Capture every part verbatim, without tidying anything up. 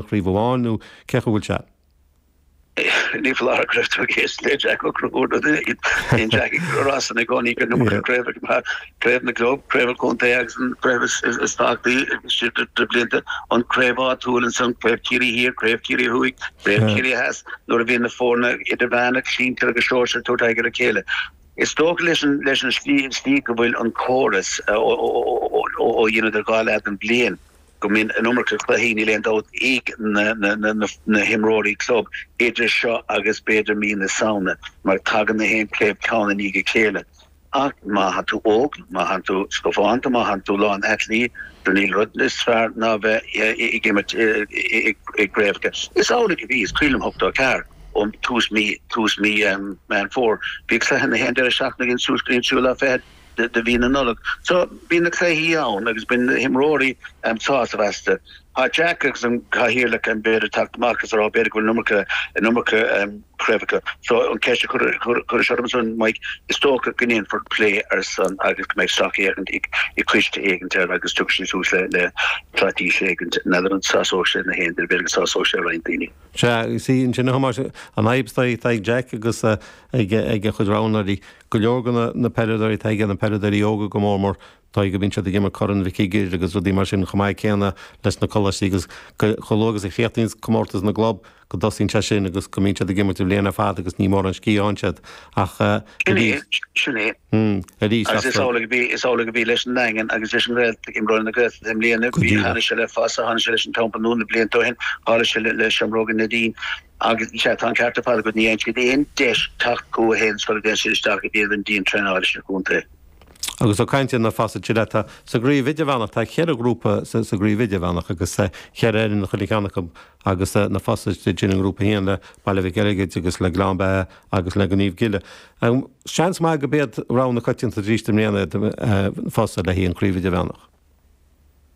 chraobh amháin nó cé chaoi a bhfuil sé? Ní foláir go raibh tú ag éisteacht le Jack Ó Conchúir nó duine éigin. Bíonn Jack ag rá san i gcónaí gur iomarca craobh craobh na gclub, craobh an chontae agus an craobh is tábhachtaí de blianta, an craobh áitiúil ansan, craobh Chiarraí Thiar, craobh Chiarraí Thuaidh, craobh Chiarraí Theas, nuair a bhíonn na foirne idirmheánach, sinsir agus sóisir ag tabhairt aghaidh ar a chéile. Is dócha leis an leis an slí go bhfuil an córas ó dheineadar dhá leath den bhliain, go mbíonn an iomarca cluichí, níl aon dabht, ag na himreoirí club idir seo agus b'fhéidir mí na Samhna mar tagann na haon chraobh ceann i ndiaidh a chéile. Ach má thánn tú óg, má thánn tú scafánta, má thánn tú lán aclaí, níl rud níos fearr ná bheith ag imirt i gcraobhacha. Is amhlaidh a bhí, is cuimhin liom ochtó a ceathair, ó tús mí tús mí Meán Fómhair, bhí cluiche na haon deireadh seachtaine againn suas go dtí an tríú lá fichead. de mhí na Nollag. So, bíonn na cluichí ann agus bíonn na himreoirí sásta astu. Tá Jack agus an cathaoirleach b'fhéidir teacht amach agus a rá b'fhéidir go bhfuil an iomarca, an iomarca craobhacha. So, an ceist a chuiris orm ansan, Mike, is dócha go ndéanfar plé ar san agus go mbeidh sracfhéachaint ag coiste éigint air agus tiocfaidh siad suas le le straitéis éigint. N'fheadar an sásóidh sé na haon duine, b'fhéidir go sásóidh sé roinnt daoine. Sea, is í ansin a Thomáis, an fhadhb atá ag Jack agus ag a chuid roghnóirí. Go leor de na peileadóirí atá aige, na peileadóirí óga go mór mór, dóigh go mbíonn siad ag imirt Corn Mhic Uidhir agus rudaí mar sin chomh maith céanna leis na coláistí agus chomh luath agus a chríochnaíonn comórtas na gclub go dtosaíonn sé sin agus go mbíonn siad ag imirt an bhliain ar fad agus ní mórán scíth a fhaigheann siad ach arís. Sin é. Arís. Agus is amhlaidh a bhí, is amhlaidh a bhí leis an nDaingean agus leis an nGaeltacht, imreoirí na Gaeltachta i mbliana, bhí, tharla sé le Fosa, tharla sé leis an Teampall Nua na blianta ó shin, tharla sé le Seamróga Neidín. Agus, sea, tá an ceart ar fad agat, ní fhaigheann siad aon deis teacht chucu féin sula dtéann siad isteach i dtír an dian-traenáil leis an gcontae. Agus ag caint ar na Fosa Chile, tá sa gcraobh idirmheánach, tá ceithre ghrúpa sa gcraobh idirmheánach agus ceithre fhoireann chuile cheann acu agus na Fosa istigh i ngrúpa a haon le Baile Mhic Eichigid agus le Gleann Beatha agus le Naomh Gille. Seans maith go b'iad rogha na coitianta arís i mbliana iad Fosa le haghaidh an chraobh idirmheánach.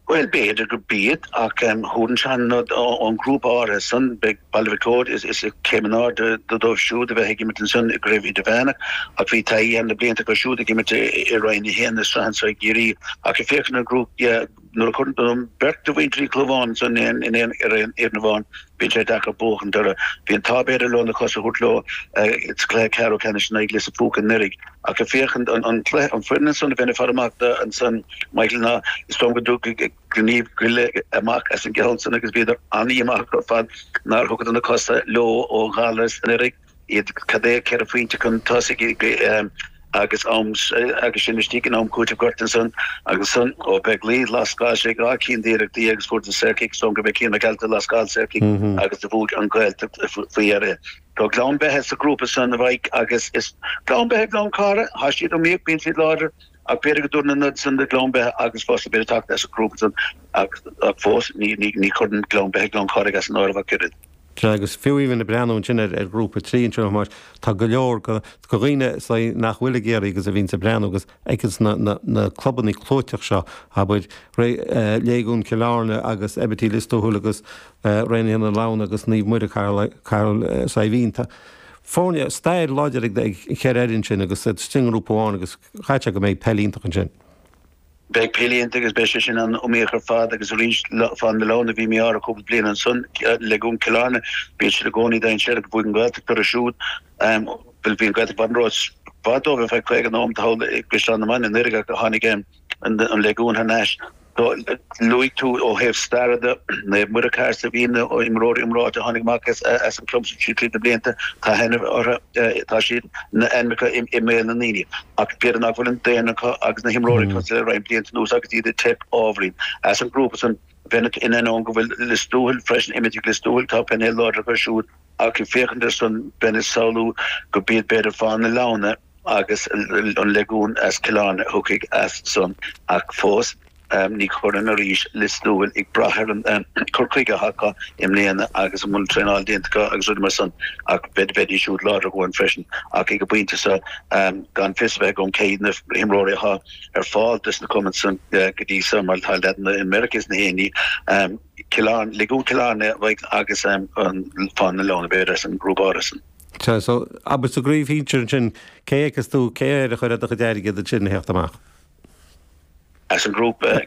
Bhuel, b'fhéidir go b'iad, ach thabharfainn an ón ngrúpa áirithe san, beidh Baile Mhic Eoid, is céim in airde dóibh siúd a bheith ag imirt ansan i gcraobh idirmheánach, ach bhí taithí thar na blianta acu siúd ag imirt i Roinn a haon na sraithe anso i gCiarraí. Ach ag féachaint ar an ngrúpa, nuair a chuireann beirt de mhuintir Uí Chlúmháin ansan in aon ar aon fhoireann amháin, bíonn sé deacair buachaint orthu. Bhí an t-ádh b'fhéidir leo na cosa a thabhairt leo sa chluiche ceathrú ceannais in aghaidh Lios an Phúca anuraidh. Ach ag féachaint an cluiche, an foireann ansan a bheinn ag faire amach do ansan, Michael, ná is dóigh liom go dtiocfaidh Naomh Gille amach as an gceann san agus bhíodar an-dhíomách ar fad nár thugadar na cosa leo ó Ghallaras anuraidh, iad cad é ceithre phointe chun tosaigh agus am agus sinn istigh in am cúitimh gorta ansan agus ansan Ó Beaglaoich lascáil sé dhá cinn d'iarrachtaí agus fuair an saorchic, is dóigh liom gurb é Cian Mac Ealta a lascáil saorchic agus do bhuaigh an Ghaeltacht faoi dheireadh. Tá Gleann Beithe sa ghrúpa san, a Mhaidhc, agus is Gleann Beithe Gleann Cártha, tá siad iomaíoch, bíonn siad láidir, ach b'fhéidir go dtabharfainn an nod san do Ghleann Beithe agus Fosa b'fhéidir teacht as an ghrúpa san ach fós ní ní chuirfinn Gleann Beithe Gleann Cárthaigh as an áireamh ach oiread. Sea, agus fiú even ag breathnú ansin ar ar ghrúpa trí anseo, mar tá go leor go go dhaoine nach bhfuil i gCiarraí agus a bhíonns ag breathnú agus fheiceanns na na na clubanna clúiteach seo, abair, Léigiún Chill Airne agus Abatie Lios Tuathail agus Raonaithe na Leamhna agus Naomh Muire Cathair Saidhbhín. Tá foirne, stair láidir ag an cheithre fhoireann sin agus iad istigh i ngrúpa amháin agus caithfidh sé go mbeidh peil iontach ansin. Beidh peil iontach agus beidh sé sin an-iomaíoch ar fad agus arís Fáth na Leamhna bhí mí-ádh orthu cúpla bliain ansan Léigiún Chill Airne bíonn siad i gcónaí dainséarach bhuaigh an Ghaeltacht orthu siúd bhuel bhí an Ghaeltacht i bhfad ró-fhada dóibh ar feadh caoga nóiméad thall i gCaisleán na mBan anuraidh ach tháinig an Léigiún thar n-ais. Luaigh tú ó thaobh staire de, Naomh Muire Cathair Saidhbhín, na imreoirí iomráite a tháinig amach as an club sin tríd na blianta, tá aithne orthu, tá siad, na ainmneacha i mbéal na ndaoine. Ach b'fhéidir nach bhfuil an daonra acu agus na himreoirí cosúil le roinnt blianta anuas agus iad ag teip ábhairín. As an ngrúpa san, bheinn in ainneoin go bhfuil Lios Tuathail freisin, imithe ag Lios Tuathail, tá painéal láidir acu siúd ach ag féachaint ar san, bheinn ag samhlú go b'iad b'fhéidir Fáth na Leamhna, agus an Léigiún as Cill Airne a thiocfaidh as san ach fós ní chuirfinn arís Lios Tuathail ag brath ar an cur chuige atá acu i mbliana agus an bhfuil traenáil déanta acu agus rudaí mar san ach bheidís siúd láidir go freisin ach ag an bpointe seo gan fios a bheith agam cé hiad na himreoirí atá ar fáil dos na cumainn san go dtí seo mar tá leaideanna i Meiriceá is na héinní Cill Airne, Léigiún Chill Airne agus an Fáth na Leamhna b'fhéidir as an ngrúpa áirithe san. Sea, so, abair sa gcraobh shinsir ansin, cé fheiceas tú, cé air a chuirfeá do chuid airgid ansin a theacht amach? As an grúpa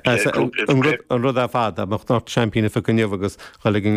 an rud a fad a nach seaimpíní inniu agus chuig an